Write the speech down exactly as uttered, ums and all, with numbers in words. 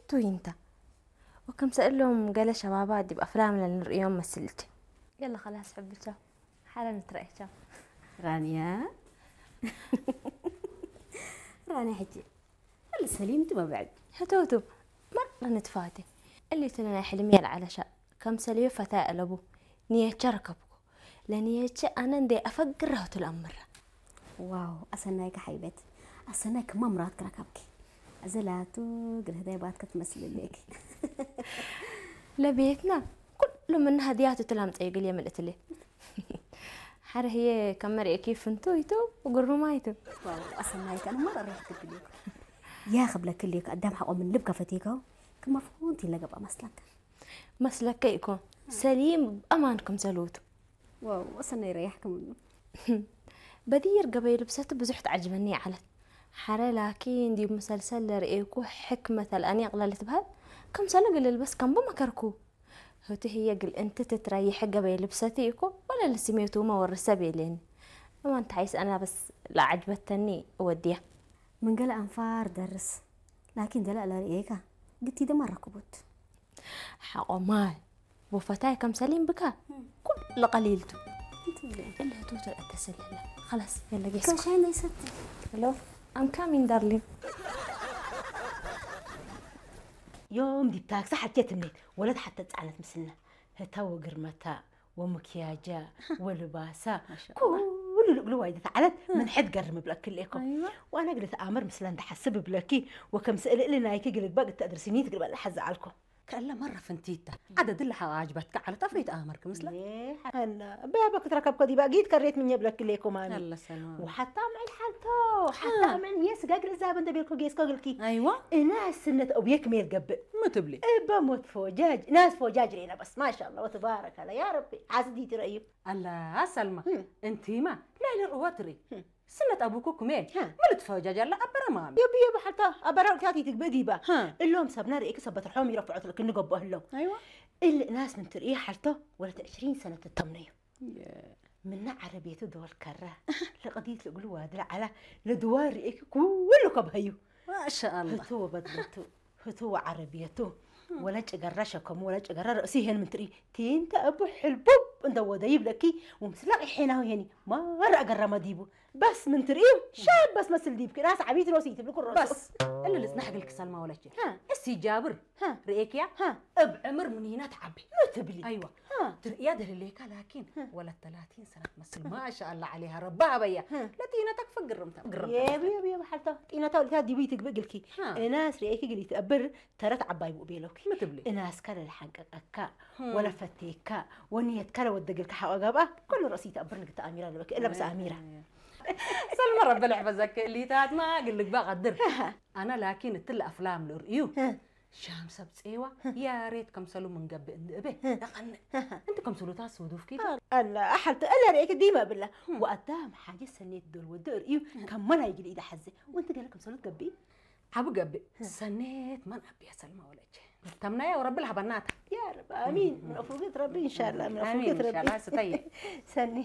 ቱ ኢንተ። ወከምሰ እሎም ገሌ ሸባባት ዲብ አፍላም ለንርእዮም መስል እቼ። የለ ኸላስ ሕቢ ቻው። ሐረ ንትረኤ ቻው። ራንያ። ራንያ ሕጂ። እሊ ሰሊም ቱ መብዕድ። ህቱ ህቱ። መረ ንትፋቴ። እሊ ቱ ናይ ሕልምየ ለዐለ ሸ-፣ ከምሰልዩ ፈታይ አለቡ። ንየቼ ረከብኩ። ለንየቼ አነ እንዴ አፈግር ረሁቱ ለአምረ። ዋው፣ አሰናይከ ሐይበት። አሰናይ ክመ ምራትክ ረከብኪ። አዘ ላቱ እግል ህዳይ ባትከ ትመስል እሌኪ። ለቤትና ኩሉ ምነ ሀድያቱ ትላምጸዩ እግል የምልእትሌ። ሐረ ህዬ ከመ ርኤኪ ፍንቱይ ቱ ወግሩማይ ቱ። ዋው፣ አሰናይከ አነ መረ ርኤት ግብሌኩ። ያክ እብለኪ እሌኩ አዳም ሐቆ ምን ልብ ከፈቴከው ክመ ፍንቱይ ለገብአ መስለከ። መስለከ ኢኮን፣ ሰሊም አማን ክምሰልቱ። ዋው፣ ወሰናይ ረያሕክ ምኑ። በዲር ገበይ ልብሰቱ ብዙሕ ተዐጅበኒ ዐለት። ሐረ ላኪን ዲብ መሰልሰል ለርኤኩ ሕክመት አልአኒቅ ለልትበህል፣ ክምሰሉ እግል ልልበስ ከምቡ መከርኩ። ህቱ ህዬ እግል እንቲ ትትረይሐ ገበይ ልብሰቱ ኢኮ፣ ወለ ለስሜቱመ ወርሰ ቤሌኒ። እማን ተሐይስ አነ በስ ለዐጅበተኒ እወድያ። ምን ገሌ አንፋር ደርስ፣ ላኪን ደለ ለርኤካ ግቲደ መ ረክቡት። ሐቆ ማይ ወፈታይ ከም ሰሊም ብካ ኩሉ ቀሊል ቱ። እለ ህቱ ተአተሰለለ። ኸላስ፣ የለ ጌስኩ። ከሻይ ነይሰቲ። Hello, I'm coming, darling. ዮም ዲብ ታክሲ ሐልቴ ትምኔት ወለት ሐተ ጸዕነት ምስልነ። ህተ ወግርመታ ወምክያጃ ወልባሳ ማሻአላህ። ኩሉ ልእግሉ ዋይደት ዐለት ምን ሕድ ገርም እብለኪ እሌኮ። አይዋ። ወአነ እግል እትአመር ምስለ እንደ ሐስብ እብለኪ ወከምሰል እሊ ናይኪ እግል እግባእ እተ አድርሲኒ ትግል በለ ሐዘ ዐልኮ። ከእለ መረ ፍንቲተ፣ ዐደድ እለ ሐ አጅበትከ ዐለት አፍሪት አመርክ ምስለ። ሌ ሐና፣ በበ ክትረከብኮ ዲበ ጊት ከሬት ምኘ ብለክ ሌኮ ማሚ። አለ ሰላም። ወሐታ ምዕል ሐልቶ፣ ሐታ አ። ምዕል ሜስ ጋግል እዛበ እንደ ቤልኮ ጌስኮ ግልኪ። አይዋ። እናስ ስነት አቡየክ ሜል ገብእ። ምን ትብሊ? እበ ሞት ፎጃጅ፣ ናስ ፎጃጅ ሬና በስ። ማሻአላህ ወተባረከ አላህ። ያ ረቢ፣ ሐስዲ ትረዩ። አላ ሰልማ፣ እም። እንቲማ፣ ላይለ ርዋ ትሪ። እም። ስነት አቡኩ ክሜ ሀ። ምን ልትፈጃጅ አለ አበረ ማሚ። የብ የብ ሐልታ አበረ ወቅታት ይትግበእ ዲባ። ሀ። እሎም ሰብና ርኤክ ሰበት ርሖም ይረፍዖት ለክን ገብኦ ህለው። አይዋ። እል እናስ ምን ትርኢ ሐልቶ ወለት ዕሽሪን ሰነት ትተምነዩ። የ- ምነ ዐረብየቱ ዶል ከረ ለቀዲት ለእግሉ ዋድለ ዐላ ለድዋር ርኤክ ኩሉ ከብሀዩ። ማሻአላህ። ህቱ ወበድለቱ። ህቱ ወዐረብየቱ፣ ወለ ጭገረ ሸከሙ፣ ወለ ጭገረ ረእሱ ይሄን ምን ትርኢ፣ ቲንተ እቡ ሕልቡብ እንደ ወደይብ ለኪ፣ ወምስለ ቂሒናሁ ይሄኒ፣ ማረ አገረመ ዲቡ። በስ ምን ትርኢ፣ ሻብ በስ መስል ዲብኪ፣ ናስ ዐቢት ሮሲ ትብልኩ ሮሱ። በስ፣ እሊ ልጽናሕ እግልኪ ሰልማ ወለቼ። ሃ። እሲ ጃብር፣ ሃ። ርኤክያ፣ ሃ። እብ ዕምር ምኒነ ተዐቢ። ምን ትብሊ? አይዋ። ሃ። ትርእያ ደልሌካ ላኪን፣ ሃ። ወለት ተላቲን ሰነት መስል። ማሻአላህ ዐሌሃ ረቢ ሀበያ። ሃ። ለጢነተክ ፈግርምታ፣ ግርምታ። የብ፣ የብ፣ የብ ሐልታ ጢነታ ወልታ ዲቡ ይትግብእ እግልኪ። ሃ። እናስ ርኤኪ እግል ይትአብር፣ ተረት ዐባይ ብኡ ቤለውኪ። ምን ትብሊ? እናስከ ለልሐንቀቀካ፣ ህም። ወለፈቴካ፣ ወንየትከ ለወደግልካ ሐቆ ገብአ፣ ኩሉ ረእሲ ተአብር ንግተ አሚራ ለበኪ፣ እለ በስ አሚራ። ሰልመ ረቢ ልሕፈዘኪ፣ እሊታትማ እግል ልግበእ ቀድር። አነ ላኪን እትለ አፍላም ልርእዩ፣ ህም። ሻም ሰብ ጼዋ፣ ህም። ያሬት ከምሰሉ ምን ገብእ እንዲ እቤ፣ ህም። ለቀንእ። ህም። እንቲ ከምሰሉታት ሱዱፍኪ። አላ፣ አሐልተ፣ እለ ርኤኪ ዲመ እብላ። ህም። ወአዳም ሓጀት ሰኔት ዶል ወደ እርእዩ፣ ህም። ከመ ናይ እግል ኢደ ሐዜ፣ ወእንቲ ገሌ ከምሰሉ ትገብኢ? ዐቢ ገብእ፣ ሰኔት መን አብያ ሰልማ ወለቼ። ተምናየ ወረቢ ለሀበናታ። ያ ረብ፣ አሚን። ምን አፉገት ረቢ፣ ኢንሻአላህ፣ ምን አሚን፣ አፉገት ረቢ። ኢንሻአላህ፣ ስተየ። ሰኔ።